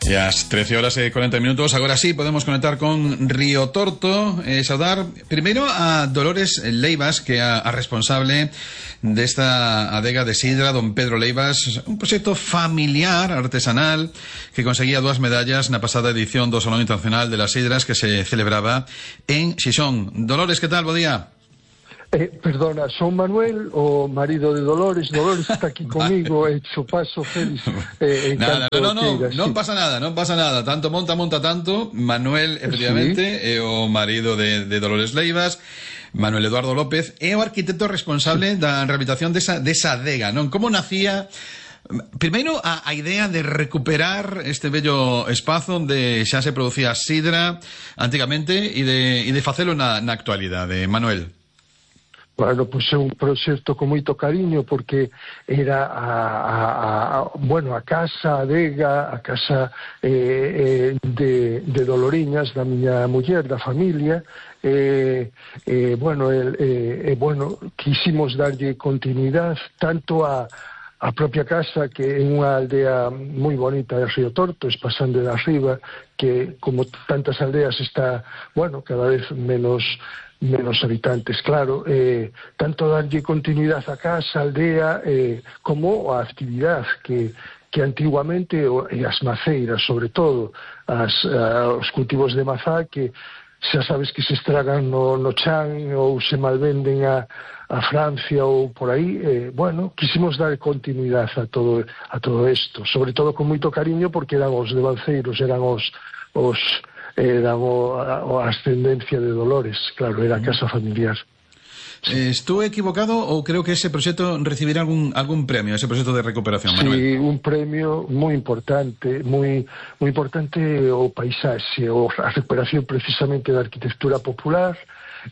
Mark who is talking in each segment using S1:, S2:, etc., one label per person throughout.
S1: E as 13h40, agora sí podemos conectar con Río Torto e saudar primeiro a Dolores Leivas, que é a responsable desta adega de sidra, don Pedro Leivas, un proxecto familiar, artesanal, que conseguía 2 medallas na pasada edición do Salón Internacional de las Sidras que se celebraba en Xixón. Dolores, que tal? Bo día.
S2: Perdona, son Manuel, o marido de Dolores. Dolores está aquí comigo, hecho paso feliz.
S1: Non pasa nada. Tanto monta tanto. Manuel, efectivamente, sí. É o marido de Dolores Leivas. Manuel Eduardo López é o arquitecto responsable da rehabilitación desa adega, non? Como nacía primeiro a idea de recuperar este bello espazo onde xa se producía sidra antigamente e de facelo na actualidade, Manuel?
S2: Bueno, pois é un proxecto con moito cariño, porque era a casa, a adega, a casa de Doloriñas, da miña muller, da familia. Quisimos darlle continuidade tanto a propia casa, que é unha aldea moi bonita de Río Torto, pasando de arriba, que como tantas aldeas está, cada vez menos habitantes, claro, tanto darlle continuidade a casa, a aldea, como a actividade que antiguamente, e as maceiras, sobre todo, os cultivos de mazá, que xa sabes que se estragan no chan ou se malvenden a Francia ou por aí, quisimos dar continuidade a todo isto, sobre todo con moito cariño, porque eran os devanceiros, eran a ascendencia de Dolores, claro, era a casa familiar.
S1: Estou equivocado ou creo que ese proxecto recibirá algún premio, ese proxecto de recuperación, Manuel?
S2: Sí, un premio moi importante, moi importante, o paisaxe, a recuperación precisamente da arquitectura popular,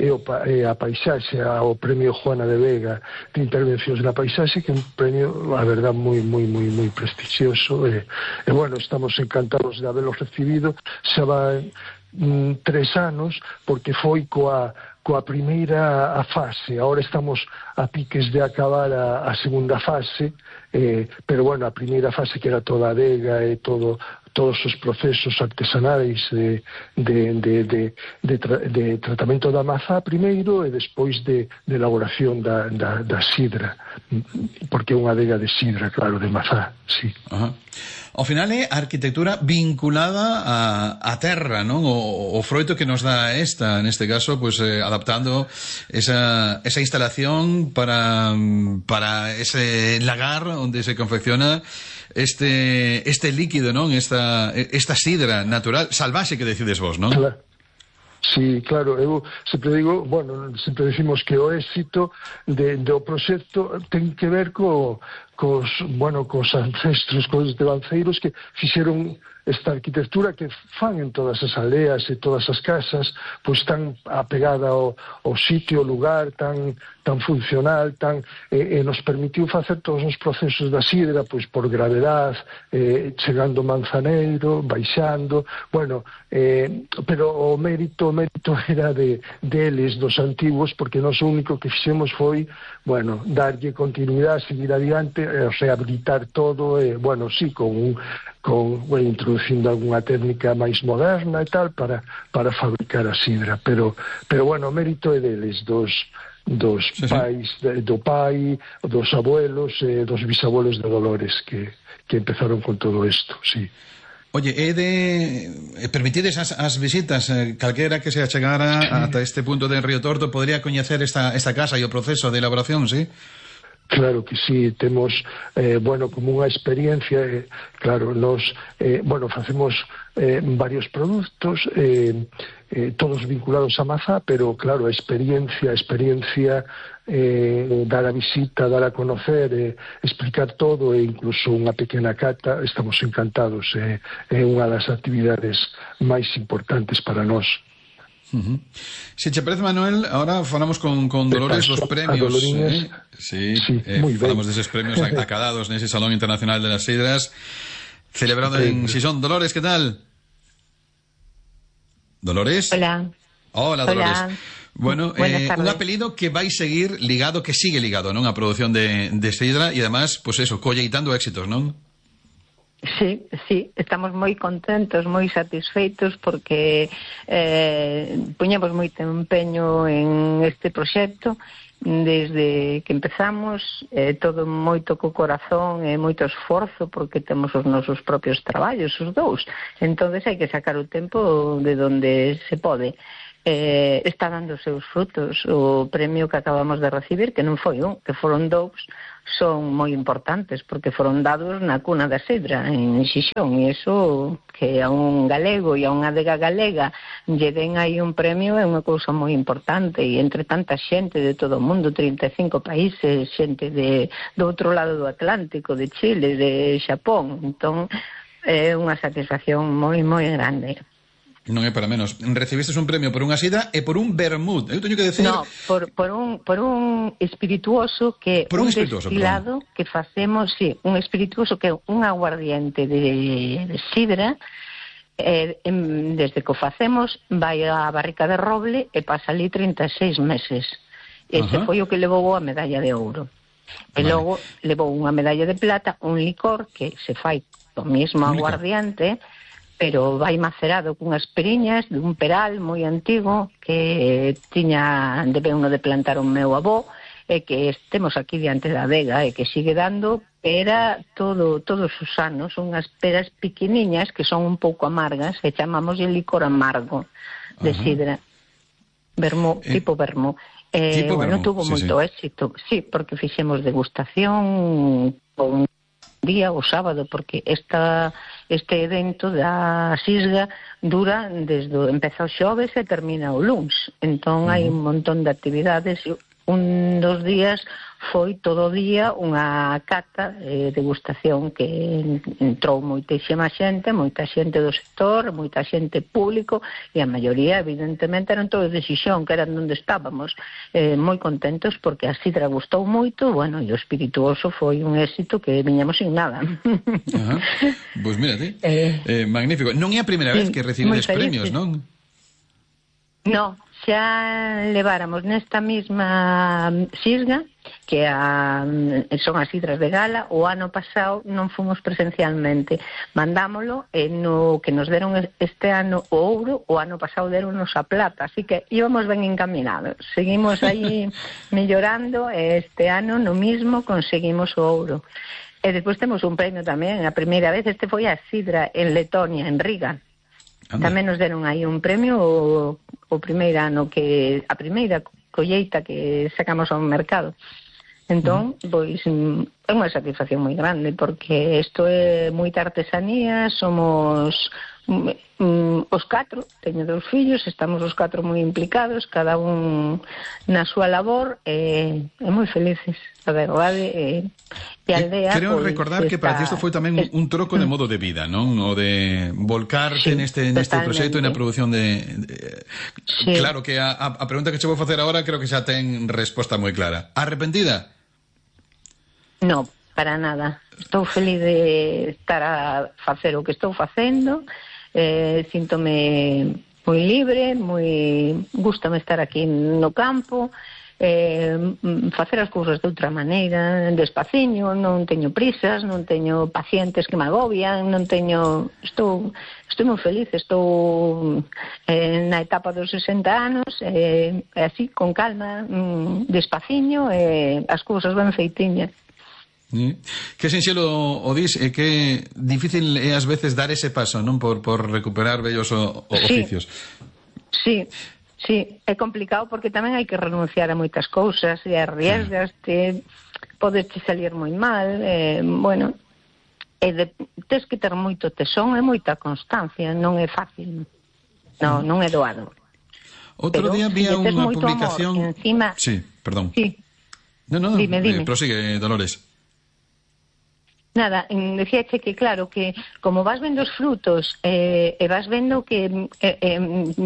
S2: e a paisaxe, o premio Juana de Vega de intervencións na paisaxe, que é un premio, a verdad, moi prestixioso, e estamos encantados de haberlo recibido. Xa van 3 anos, porque foi coa primeira fase. Agora estamos a piques de acabar a segunda fase, pero a primeira fase, que era toda a adega e todos os procesos artesanais de tratamento da mazá primeiro, e despois de elaboración da sidra, porque é unha adega de sidra, claro, de mazá, sí.
S1: Ajá. Ao final é a arquitectura vinculada á terra, non? O froito que nos dá neste caso, pues adaptando esa instalación para ese lagar onde se confecciona este líquido, non? Esta sidra natural, salvaxe, que decides vos, non?
S2: Claro. Sí, claro, eu sempre digo, sempre decimos que o éxito do proxecto ten que ver cos ancestros, cos devanceiros que fixeron esta arquitectura que fan en todas as aldeas e todas as casas, pois tan apegada ao sitio, ao lugar, tan funcional, e nos permitiu facer todos os procesos da sidra, pois por gravedade, chegando Manzaneiro, baixando, pero o mérito era deles, dos antiguos, porque nós o único que fixemos foi, darlle continuidade, seguir adiante, rehabilitar todo, sí, introducindo algunha técnica máis moderna e tal, para fabricar a sidra, pero o mérito é deles, dos pais, do pai, dos abuelos, dos bisabuelos de Dolores, que empezaron con todo isto, sí.
S1: Oye, permitides as visitas, calquera que se achegara ata este punto de Río Torto podría coñecer esta casa e o proceso de elaboración, sí?
S2: Claro que sí, temos, como unha experiencia, claro, nos, facemos varios produtos, todos vinculados a mazá, pero claro, a experiencia, dar a visita, dar a conocer, explicar todo, e incluso unha pequena cata, estamos encantados, é unha das actividades máis importantes para nós.
S1: Si che parece, Manuel, ahora falamos con Dolores dos premios, Sí, falamos deses premios acadados nese Salón Internacional de las Sidras celebrado en Xixón. Dolores, que tal? Dolores?
S3: Hola,
S1: Dolores. Bueno, un apelido que vai seguir ligado, que sigue ligado, non? A produción de sidra, e además, pues eso, colleitando éxitos, non?
S3: Sí, Sí, estamos moi contentos, moi satisfeitos porque puñemos moito empeño en este proxecto desde que empezamos, todo moito co corazón e moito esforzo porque temos os nosos propios traballos, os dous. Entonces hai que sacar o tempo de donde se pode. Está dando os seus frutos. O premio que acabamos de recibir, que non foi un, que foron dous, son moi importantes porque foron dados na cuna da Sidra en Xixón, e iso que a un galego e a unha adega galega lle den aí un premio é unha cousa moi importante, e entre tanta xente de todo o mundo, 35 países, xente do outro lado do Atlántico, de Chile, de Xapón, entón é unha satisfacción moi moi grande.
S1: Non é para menos. Recibistes un premio por unha sidra e por un vermut. Eu teño que decir...
S3: No, por un espirituoso que
S1: por un
S3: destilado perdón. Que facemos, sí, un espirituoso que é un aguardiente de sidra, desde que o facemos vai á barrica de roble e pasa ali 36 meses. Ese foi o que levou a medalla de ouro. E logo levou unha medalla de plata, un licor que se fai do mesmo aguardiente, pero vai macerado cunhas periñas dun peral moi antigo que tiña debeuno de plantar o meu avó, e que temos aquí diante da adega e que sigue dando pera todos os anos, unhas peras pequeniñas que son un pouco amargas e chamamos de licor amargo de sidra, vermú, tipo vermú. Bueno, tuvo moito éxito, sí, porque fixemos degustación con día o sábado, porque este evento da Sisga dura desde empeza o xoves e termina o luns, entón hai un montón de actividades. Un dos días foi todo o día unha cata degustación que entrou moita xente do sector, moita xente público, e a maioría evidentemente eran todos de Xixón, que eran onde estábamos, moi contentos porque a sidra gustou moito, bueno, e o espirituoso foi un éxito que viñamos sin nada.
S1: Pois mírate, magnífico. Non é a primeira vez que recibides premios, non?
S3: No, xa leváramos nesta mesma Sisga, que son as sidras de gala. O ano pasado non fomos presencialmente, mandámolo, e no que nos deron este ano o ouro, o ano pasado deronnos a plata, así que íbamos ben encaminados, seguimos aí mellorando, e este ano no mismo conseguimos o ouro. E despois temos un premio tamén, a primeira vez, este foi a sidra en Letonia, en Riga. Tamén nos deron aí un premio o primeiro ano, que a primeira colleita que sacamos ao mercado. Entón, pois é unha satisfacción moi grande, porque isto é moita artesanía, somos os 4, teño 2 fillos, estamos os 4 moi implicados, cada un na súa labor, e moi felices, a verdade, e a aldea...
S1: Creo recordar que para ti isto foi tamén un troco de modo de vida, non? O de volcarte neste proxecto e na produción de... Claro que a pregunta que che vou facer agora creo que xa ten resposta moi clara. Arrepentida?
S3: No, para nada. Estou feliz de estar a facer o que estou facendo, síntome moi libre, gústame estar aquí no campo, facer as cousas de outra maneira, despaciño, non teño prisas, non teño pacientes que me agobian, non teño... Estou moi feliz, estou na etapa dos 60 anos, así, con calma, despaciño, as cousas ben feitiñas.
S1: Que sinxelo o dis, e que difícil é ás veces dar ese paso, non, por recuperar vellos oficios.
S3: Sí, é complicado porque tamén hai que renunciar a moitas cousas e arriesgaste, podes salir moi mal, bueno, tes que ter moito tesón e moita constancia, non é fácil, non é doado.
S1: Outro día vía unha publicación...
S3: Encima...
S1: Sí, perdón.
S3: Sí.
S1: No,
S3: dime.
S1: Prosigue, Dolores.
S3: Nada, decíache que claro, que como vas vendo os frutos e vas vendo que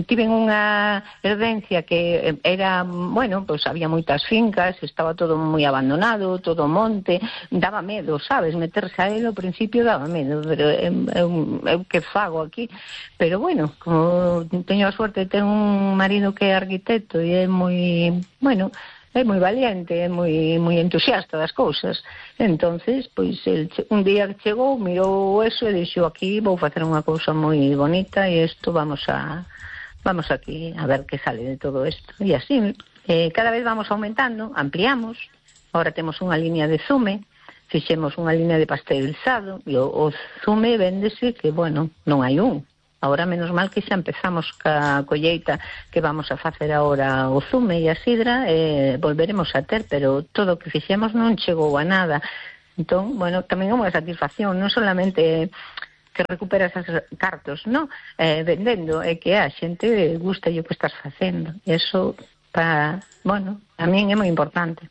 S3: tiven unha herdencia que era, bueno, pues había moitas fincas, estaba todo moi abandonado, todo monte, daba medo, sabes, meterse a él ao principio daba medo, pero eu que fago aquí, pero bueno, como teño a suerte de ter un marido que é arquitecto e é moi, bueno, é moi valiente, é moi entusiasta das cousas. Entonces, pois, un día chegou, mirou eso e dixo, aquí vou facer unha cousa moi bonita e isto vamos aquí a ver que sale de todo isto. E así, cada vez vamos aumentando, ampliamos, agora temos unha línea de zume, fixemos unha línea de pasteurizado e o zume véndese que, bueno, non hai un. Ahora, menos mal que xa empezamos ca colleita que vamos a facer agora o zume e a sidra, volveremos a ter, pero todo o que fixemos non chegou a nada. Entón, bueno, tamén é unha satisfacción, non solamente que recuperas as cartos, non? Vendendo, é que a xente gusta o que estás facendo. Eso, bueno, a min é moi importante.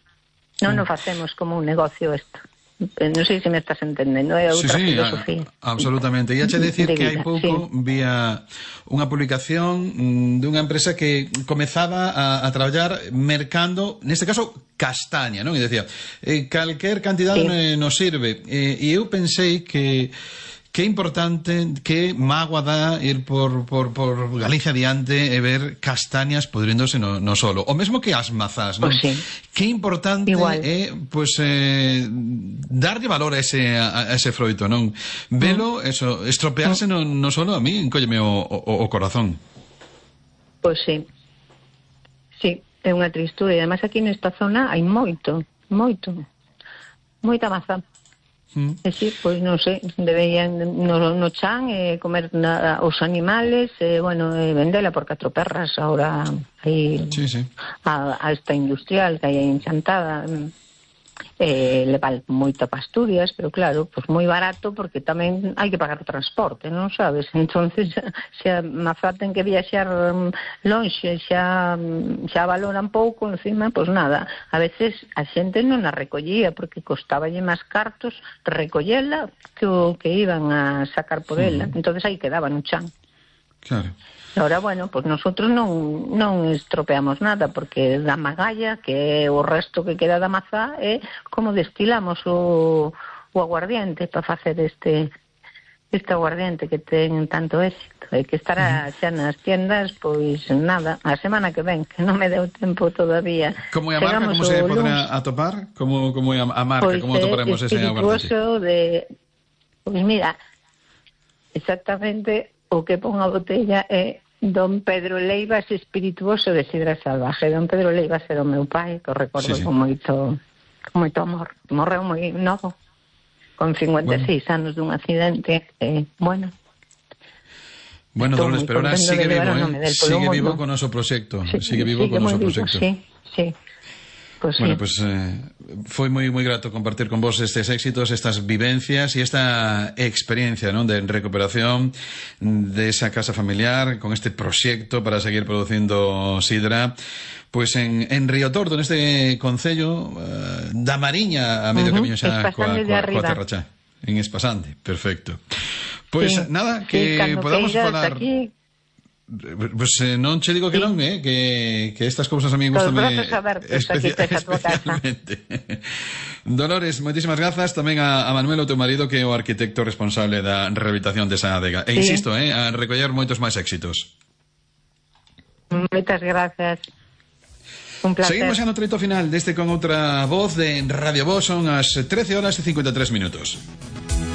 S3: Non o facemos como un negocio isto. Non sei se me estás entendendo, é outra filosofía.
S1: Absolutamente. E hache decir que hai pouco vía unha publicación dunha empresa que comezaba a traballar mercando, neste caso, castaña, non? E decía, calquer cantidade nos sirve. E eu pensei que é importante, que mágoa dá ir por Galicia adiante e ver castañas podréndose no solo. O mesmo que as mazás, non?
S3: Pues sí.
S1: Que importante é, darlle valor a ese froito, non? Velo, estropearse no solo, a mí encólleme o corazón.
S3: Pois sí. Sí, é unha tristura. E además aquí nesta zona hai moita mazá. E si, pois non sei, deberían no chan comer os animales, bueno, vendela por 4 perras. Ahora hai a esta industrial que hai enchantada, levar moita pasturias, pero claro, pois moi barato, porque tamén hai que pagar o transporte, non sabes? Entonces, se a mazá ten que viaxar lonxe, xa valoran pouco, encima, pois nada, a veces a xente non a recollía, porque costaballe máis cartos recollela que o que iban a sacar por ela. Entonces aí quedaba no chan.
S1: Claro.
S3: Ahora, bueno, pues nosotros non estropeamos nada, porque da magalla, que é o resto que queda da mazá, é como destilamos o aguardiente para facer este aguardiente que ten tanto éxito. E que estará xa nas tiendas, pois nada, a semana que ven, que non me deu tempo todavía.
S1: Como é a marca? Como se poderá atopar? Como é a marca?
S3: Pois
S1: como atoparemos ese aguardiente?
S3: Pois mira, exactamente o que pon a botella é Don Pedro Leivas Espirituoso de Sidra Salvaje. Don Pedro Leivas era o meu pai, que o recordo con moito amor. Morreu moi novo, con 56 anos dun accidente. Bueno,
S1: Dolores, pero ahora sigue vivo con o noso proxecto. Sigue vivo con o noso proxecto.
S3: Sí. Pues
S1: bueno, pues foi moi grato compartir con vos estes éxitos, estas vivencias e esta experiencia, ¿no?, de recuperación de esa casa familiar con este proxecto para seguir producindo sidra, pues en Río Tordo, neste concello da Mariña, a medio camiño xa coa Terrachá, en Espasante. Perfecto. Pues nada, que podamos falar aquí. Pues non che digo que non, que estas cousas a mí gustame especialmente. Dolores, moitísimas grazas tamén a Manuel, o teu marido, que é o arquitecto responsable da rehabilitación desa adega. E insisto, a recoller moitos máis éxitos.
S3: Moitas grazas. Un placer.
S1: Seguimos xa no treito final deste con outra voz de Radio Voz. Son as 13 horas e 53 minutos.